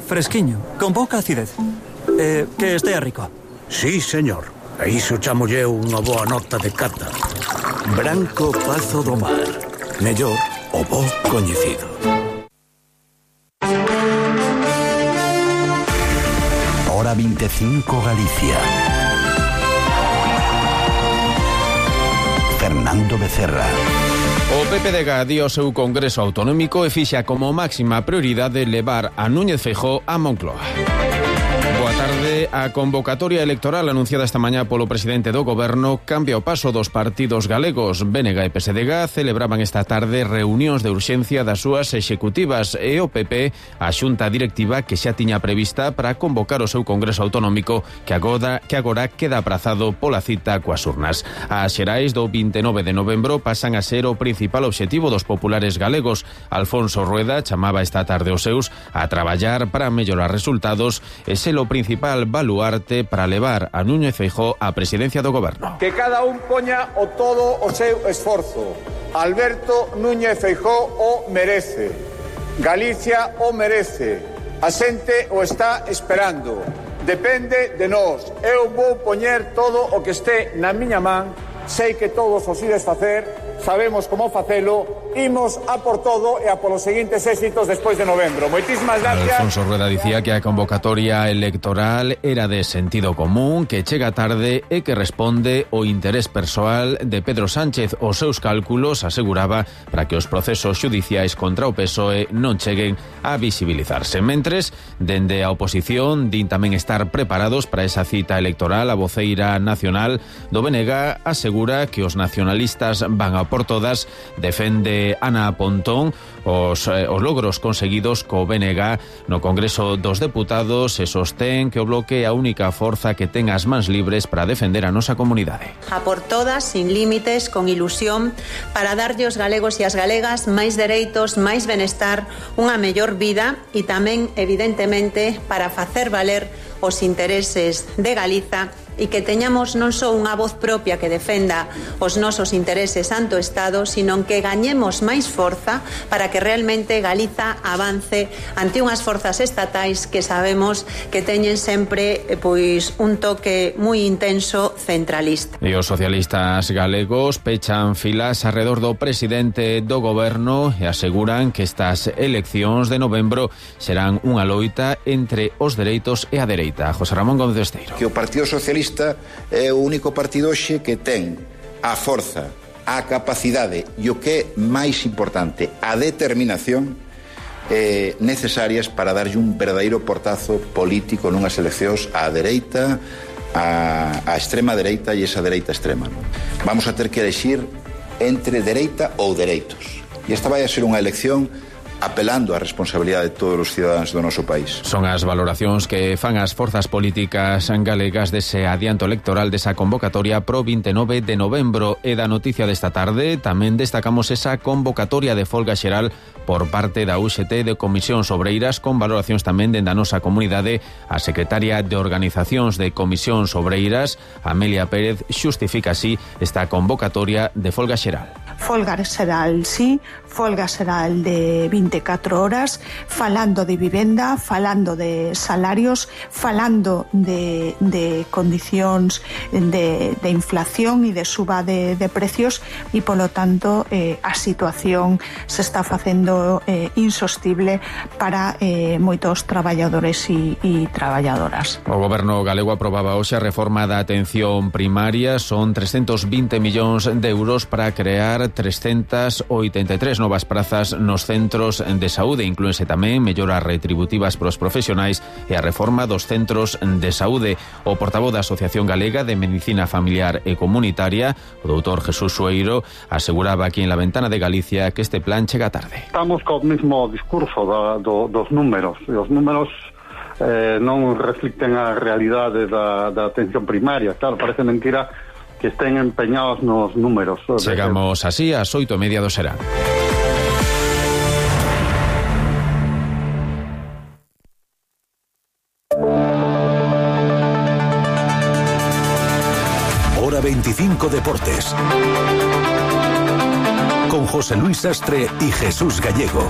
fresquiño, con pouca acidez. Que estea rico. Sí, señor. A iso chamolle unha boa nota de cata. Branco Pazo do Mar. Mellor o bo coñecido. Hora 25 Galicia. Fernando Becerra. O PPDG dio o seu Congreso Autonómico e fixa como máxima prioridade levar a Núñez Feijóo a Moncloa. Boa tarde. A convocatoria electoral anunciada esta mañá polo presidente do Goberno cambia o paso dos partidos galegos. BNG e PSDG celebraban esta tarde reunións de urxencia das súas executivas e o PP a xunta directiva que xa tiña prevista para convocar o seu Congreso Autonómico que agora queda aprazado pola cita coas urnas. As xerais do 29 de novembro pasan a ser o principal obxectivo dos populares galegos. Alfonso Rueda chamaba esta tarde os seus a traballar para mellorar resultados e ser o principal baluarte para levar a Núñez Feijóo á presidencia do Goberno. Que cada un poña o todo o seu esforzo. Alberto Núñez Feijóo o merece. Galicia o merece. A xente o está esperando. Depende de nós. Eu vou poñer todo o que este na miña man. Sei que todos os ides facer. Sabemos como facelo, imos a por todo e a polos seguintes éxitos despois de novembro. Moitísimas gracias. Alfonso Rueda dicía que a convocatoria electoral era de sentido común, que chega tarde e que responde ao interés persoal de Pedro Sánchez. Os seus cálculos, aseguraba, para que os procesos xudiciais contra o PSOE non cheguen a visibilizarse. Mentres, dende a oposición, din tamén estar preparados para esa cita electoral. A voceira nacional do BNG asegura que os nacionalistas van a por todas. Defende Ana Pontón os logros conseguidos co BNG no Congreso dos Deputados e sostén que o bloque é a única forza que ten as mans libres para defender a nosa comunidade. A por todas, sin límites, con ilusión, para darlle aos galegos e as galegas máis dereitos, máis benestar, unha mellor vida e tamén, evidentemente, para facer valer os intereses de Galiza e que teñamos non só unha voz propia que defenda os nosos intereses ante o Estado, sino que gañemos máis forza para que realmente Galiza avance ante unhas forzas estatais que sabemos que teñen sempre pois un toque moi intenso centralista. E os socialistas galegos pechan filas arredor do presidente do Goberno e aseguran que estas eleccións de novembro serán unha loita entre os dereitos e a dereita. José Ramón Gómez Esteiro. Que o Partido Socialista é o único partido hoxe que ten a forza, a capacidade e o que é máis importante, a determinación necesarias para darlle un verdadeiro portazo político nunhas eleccións á dereita, a extrema dereita e esa dereita extrema. Vamos a ter que elegir entre dereita ou dereitos. E esta vai a ser unha elección apelando á responsabilidade de todos os cidadáns do noso país. Son as valoracións que fan as forzas políticas galegas dese adianto electoral desa convocatoria pro 29 de novembro. E da noticia desta tarde tamén destacamos esa convocatoria de folga xeral por parte da UGT de Comisións Obreiras, con valoracións tamén dende a nosa comunidade. A secretaria de Organizacións de Comisións Obreiras, Amelia Pérez, xustifica así esta convocatoria de folga xeral. Folga xeral, sí, folga xeral de 24 horas, falando de vivenda, falando de salarios, falando de condicións de inflación e de suba de precios e, polo tanto, a situación se está facendo insostible para moitos traballadores e traballadoras. O Goberno galego aprobaba hoxe a reforma da atención primaria. Son 320 millóns de euros para crear 383 novas prazas nos centros de saúde. Inclúense tamén melloras retributivas para os profesionais e a reforma dos centros de saúde. O portavoz da Asociación Galega de Medicina Familiar e Comunitaria, o doutor Jesús Sueiro, aseguraba aquí en La Ventana de Galicia que este plan chega tarde. Estamos co mesmo discurso dos números. E os números non reflicten a realidade da atención primaria. Claro, parece mentira que estén empeñados nos números. Chegamos así ás 8:30 do serán. Hora 25 Deportes. Con José Luis Sastre y Jesús Gallego.